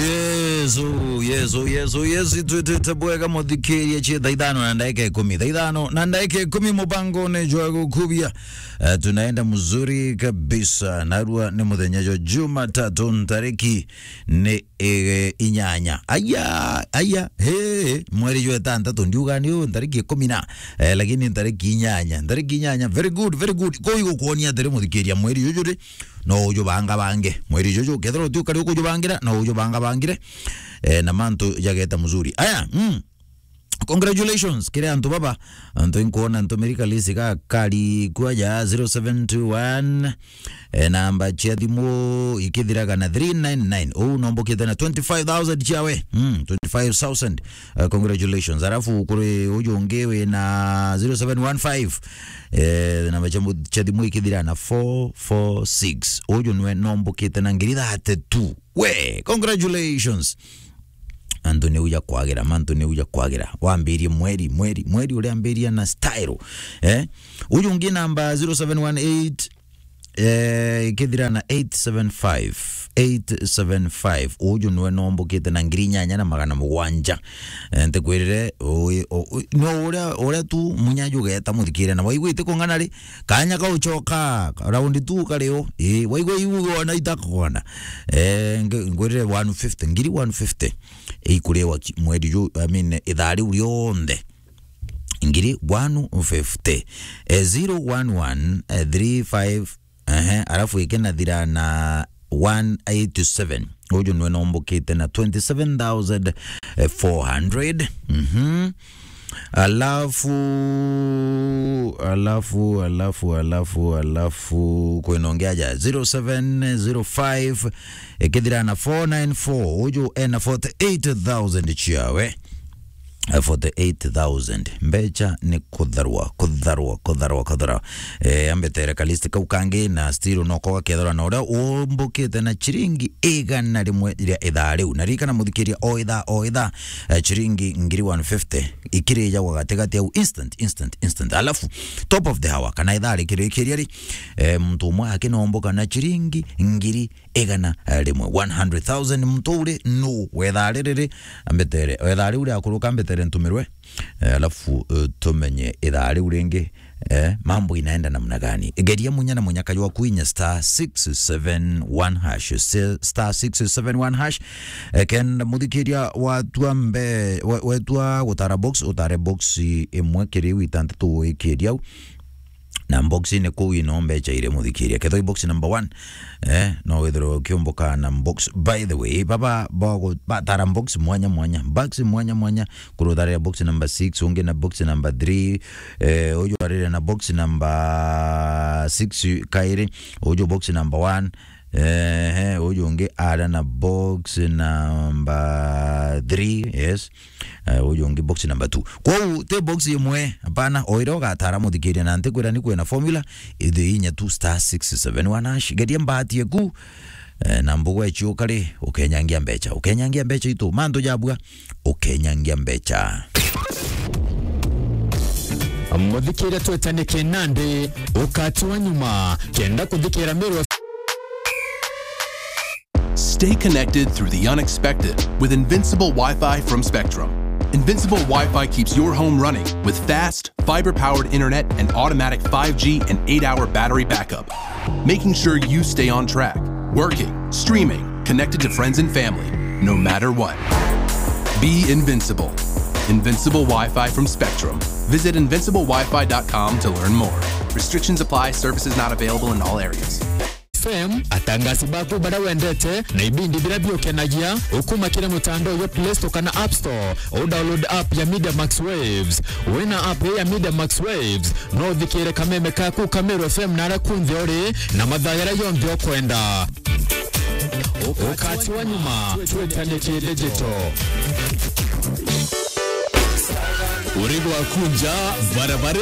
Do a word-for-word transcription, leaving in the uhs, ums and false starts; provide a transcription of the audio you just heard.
Yesu, Yesu, Yesu, Yesu, twitite bwega muthikiria, cie thaa ithano na ndagika ikumi. Thaa ithano na ndagika ikumi, mubangone jwa gukubia. Eh, tunaenda mzuri kabisa. Narua ni muthenya jwa Jumatatu, ntariki ni, eh, inyanya. Aya, aya, he, mweri jwa itantatu, ndiuga ni u, ntariki ikumi na, eh, lakini ntariki inyanya. Ntariki inyanya, very good, very good. Kuu igukuonia atiri muthikiria, mweri juju ri, no ujubangabange. Mweri juju, kethira uti ukari ukujubangira, no ujubangabangire. Eh, na mantu jageta mzuri. Aya, mm. Congratulations, kiri antu baba. Antu inkuona ntumiri kalisi ga kari kwaja zero seven two one. Eh, namba cia thimu ikithiraga na three nine nine. Uu nombokite na twenty-five thousand ciawe. Mm, twenty-five thousand. Eh, congratulations. Alafu kuri uju ungi wi na zero seven one five. Eh, namba cia mu-, cia thimu ikithira na four four six. Uju nwe nombokite na ngiri thirty-two. We, congratulations. Antu ni uja kwagira, mantu ni uja kwagira. Wambirie mweri, mweri, mweri uria ambiria na style. Eh? Uju ungi namba zero seven one eight, eh, ikithira na eight seven five, eight seven five. Uju nwe nombokite na ngiri inyanya na magana mugwanja. Eh, ntikwirire, ui-, u-, u-, no uria, uria tu munya jugeta muthikire na waigua iti kung'ana ri, kanya ka ucoka, round two kari u, ii, waigua iu ona itakugona. Eh, nge-, ngwirire one fifty, ngiri one fifty. Ikuriwa ki-, mweri ju, I mean, ithaa riu rionthe. Ngiri one fifty. Eh, zero one one, eh, three five, ehe, alafu ikinathira na one eight seven. Uju nwe nombokite na twenty-seven thousand four hundred. Mhm. Alafu, alafu, alafu, alafu, alafu, kwina ungi aja, zero seven zero five, ikithira na four nine four, uju ena forty-eight thousand ciawe. Eh, forty-eight thousand. Mbecha ni kutharwa, kutharwa, kutharwa, kutharwa. Eh, ambetere kalist kau kangi na still no koga kethirwa na uria umbukite na chiringi igana rimwe ria ithaa riu. Na ririkana muthikiria, o ithaa, o ithaa, eh, chiringi ngiri one fifty ikirijagwa gatigati au, instant, instant, instant. Alafu, top of the hour, kana ithaa rikirikiria ri, eh, muntu umwe akinomboka na chiringi ngiri igana rimwe, one hundred thousand. Muntu uri nu wethaa riri ri, ambetere, wethaa riu riakuruka, ambetere ntumirwe, eh, alafu, eh, tumenye ithaa riu ringi, eh, mambo inaenda namna gani. Geria munya na munyaka jwa kwinya star six seven one hash, se-, star six seven one hash. Eh, kenda muthikiria watua mbe-, we-, wetua gutara box, utare box imwe kiri iu itantatu wikiria au. Na box-ini kuu ino mbecha iri muthikiria. Kethwa i box number one, eh, no withirwe ukiumbuka na box. By the way, baba, bagu-, batara box mwanya mwanya. Box mwanya mwanya. Kuru utharire box number six, ungi na box number three, eh, uju arire na box number six kairi, uju box number one, eh, uju ungi ara na box number three, yes. Eh, uju ungi box number two. Kwou ti box imwe, hapana, o iria ugatara muthikiria, na ntikwira ni kwina formula, ithi inya tu star six seven one hash. Geria mbahati eku, eh, na mbugu echiuka ri, ukenyangia mbecha, ukenyangia mbecha itu, mantu jabua, ukenyangia mbecha. Muthikiria twetane kinandi, ukati wa nyuma, kenda kuthikira Meru. Stay connected through the unexpected with Invincible Wi-Fi from Spectrum. Invincible Wi-Fi keeps your home running with fast, fiber-powered internet and automatic five G and eight-hour battery backup, making sure you stay on track, working, streaming, connected to friends and family, no matter what. Be invincible. Invincible Wi-Fi from Spectrum. Visit invincible wi fi dot com to learn more. Restrictions apply. Services not available in all areas. F M, atangasi baku baria wendete na ibindi biria biukenagia, ukuma kiri mutandao jwa Play Store kana App Store, u download app ya Media Max Waves. Wina app ya Media Max Waves, no uthikire kameme kaku ka Meru F M na aria kunthe uri na mathaa jaria jonthe ukwenda. Ukati wa nyuma, twetane ki digital. Uri gwaku nja, barabara